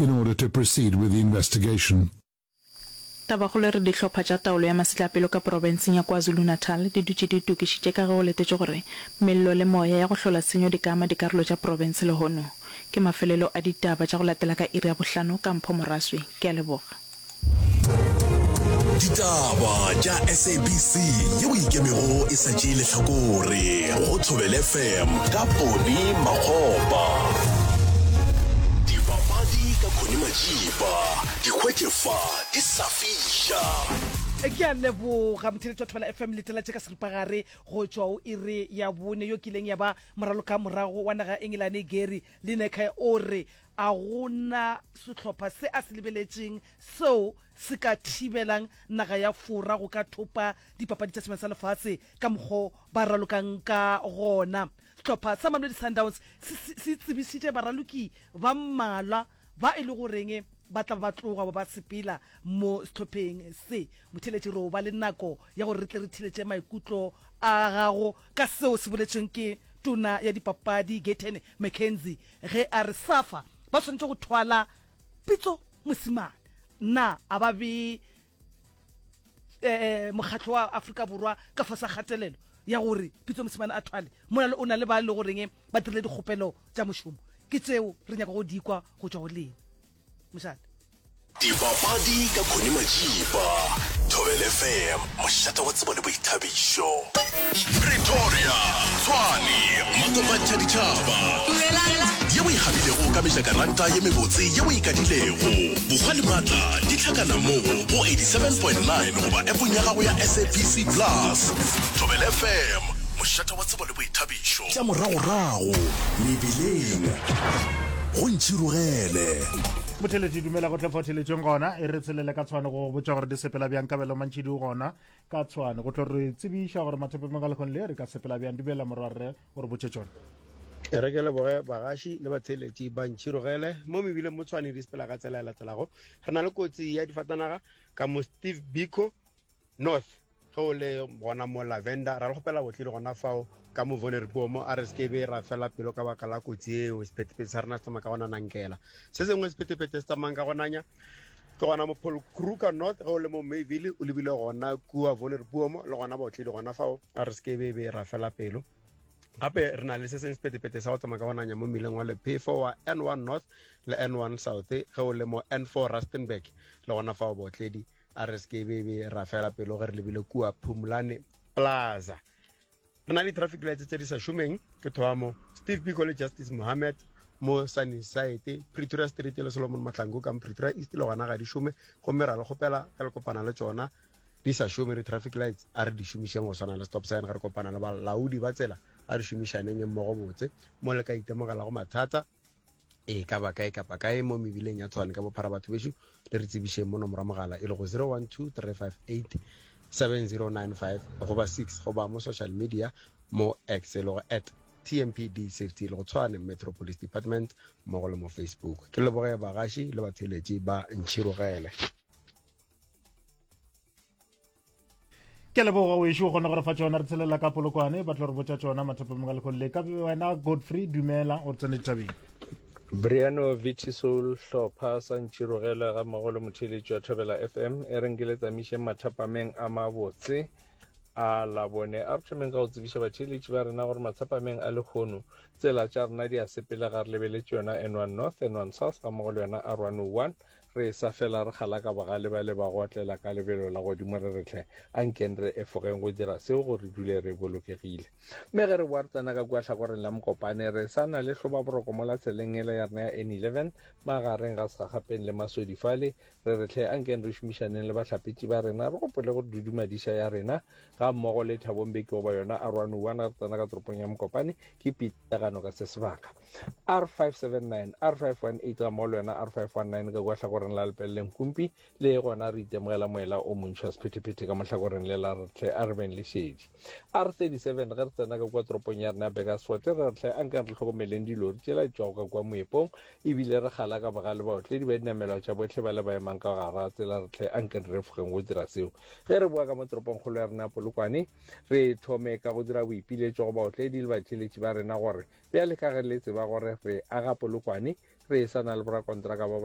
in order to proceed with the investigation. Tabakgolo e re dihlopha tša taolo ya masetlapelo ka profenseng ya KwaZulu-Natal di dutše di itokišitše ka ge go letetšwe gore mello le moya ya go hlola tshenyo di ka ama dikarolo tša profense lehono. Ke mafelelo a ditaba tša go latela ka iri ya bohlano ka Mpho Moraswi. Ke a leboga. Ditaba tša SABC yeo e ikemego e sa tšee lehlakore go Thobela FM ka Poni Makgopa. Dipapadi ka Connie Majiba, di hwetše fa di sa fiša. Ke a leboga motheeletši wa Thobela FM letela tše ka seripagare go tšwa o iri ya bone yo kileng ya ba moraloka morago wa naga ya Engelane Gary Lineker o re A go na sehlopha se a se lebeletšeng seo se ka thibelang naga ya Fora go ka thopa dipapadi tša Sebjana sa Lefase ka mokgo ba ralokang ka gona? Sehlopha sa Mamelodi Sundowns se se tsebišitše baraloki ba mmalwa ba e le goreng ba tla ba ba tloga ba ba sepela mo sehlopheng se. Motheeletši, re o ba le nako ya gore re tle re theeletše maikutlo a gago ka seo se boletšweng ke Tona ya Dipapadi Gayton McKenzie ge a re SAFA ba swanetše go thwala Pitso Mosimane. Na a ba bee eh, mokgatlo wa Afrika Borwa ka fase ga kgatelelo ya gore Pitso Mosimane a thwale mola le o na le ba e le goreng ba dirile dikgopelo tša mošomo? Ke tseo re nyaka go di kwa go tšwa go lena. Mošate. Dipapadi ka Connie Majiba, Thobela FM, mošate wa tsebo le boithabišo. Pretoria, Tshwane, makopantšha ditšhaba. Ye o e gabilego ka mejakaranta ye mebotse ye o e kadilego. Bohwa le maatla di hlakana mo go 87.9 goba appong ya gago ya SABC Plus. Thobela FM, mošate wa tsebo le boithabišo. Tša moragorago mebileng go ntšhirogele. Motheletši dumela go tle fa theletšeng gona e re tshelele ka tshwane go go botša gore di sepela bjang kabelo mantšhidi o gona ka tshwane go tlo re tsebiša gore mathapemeng a lekgone le re ka sepela bjang dumela morwarre o re botše tšona E re ke leboge bagaši le batheeletši ba ntšhirogele mo mebileng mo tshwane di sepela ka tsela e latelago re na le kotsi ya difatanaga ka mo steve biko north Ge o le gona mo Lavender, ra le kgopela botle le gona fao ka mo Vonderboom, a re se ke be ra fela pelo ka baka la kotsi eo. Sephethephethe sa rena se tsamaya ka go nanankela. Se sengwe sephethephethe se tsamayang ka go nanya ke gona mo Paul Kruger North, ge o le mo Mayville o lebile gona kua Vonderboom, le gona baotledi gona fao, a re se ke be be ra fela pelo. Gape re na le se sengwe sephethephethe sa go tsamaya ka go nanya mo mmileng wa Lephefo wa N1 North le N1 South, ge o le mo N4 Rustenburg, le gona fao baotledi A re se ke be be ra fela pelo ge re lebile kua Phumlane Plaza. Re na le traffic lights tse di sa šomeng ke thoamo Steve Biko le Justice Mohammed mo Sunnyside, Pretoria Street le Solomon Mahlangu ka Pretoria East le gona ga di šome gomme ra le kgopela ge le kopana le tšona di sa šome di-traffic lights a re di šomišeng go swana le stop sign ge re kopana le balaodi ba tsela a re šomišaneng mmogo botse mo le ka itemogelago mathata e ka ba kae kapa kae mo mebileng ya Tshwane ka bophara batho bešo le re tsebišeng mo nomoro ya mogala e lego 012 358 7095 goba 6 goba mo social media mo X e lego at TMPD Safety e lego Tshwane Metro Police Department mmogo le mo Facebook. Ke leboge bagaši le batheeletši ba Ntšhirogele. Ke leboga wešo o kgona go re fa tšona re tshelela ka polokwane ba tlo re botša tšona mathapamong a lekgolo le ka wena Godfrey dumela o re tsene ditabeng. Briano Vitisoul Hlopha sa Ntširogele ga mmogo le motheeletši wa Thobela FM e reng ke le tsamišeng mathapameng a mabotse a Labone. A re thomeng ka go tsebiša batheeletši ba rena gore mathapameng a lekgono tsela tša rena di a sepela ga re lebeletše yona N1 North, N1 South ga mmogo le yona R101 Re sa fela re galaka bogale bale ba go otlela ka lebelo la godimo re re hle ankeng re efogeng go dira seo gore re dule re bolokegile. Mme ge re boa re tsena ka kua hlakoreng la Mokopane re sa na le hlobaboroko mola tseleng yela ya rena ya N11 magareng ga Segagapeng le Masodi fale re re hle ankeng re šomišaneng le bahlapetši ba rena re gopole gore dudumadiša ya rena ga mmogo le Thabo Mbeki goba yona R101 ge re tsena ka toropong ya Mokopane ke pitlagano ka se sebaka. R579, R518 ga mmogo le yona R519 ka kua hlakoreng la Lepelle Nkumpi le gona re itemogela moela o montši wa sephethephethe ka mo hlakoreng le la re hle a re beng le šedi. R37 ge re tsena ka kua toropong ya rena ya Burgersfort re re hle a nkeng re hlokomeleng dilori tšela di tšwago ka kua moepong ebile re gala ka bogale baotledi ba dinamelwa tša bohle ba le ba emang ka gara tsela re hle a nkeng re refogeng go dira seo. Ge re boa ka mo toropongkgolo ya rena ya Polokwane re thome ka go dira boipiletšo go baotledi le batheeletši ba rena gore Bjale ka ge le tseba gore re aga Polokwane, re sa na le borakontraka ba.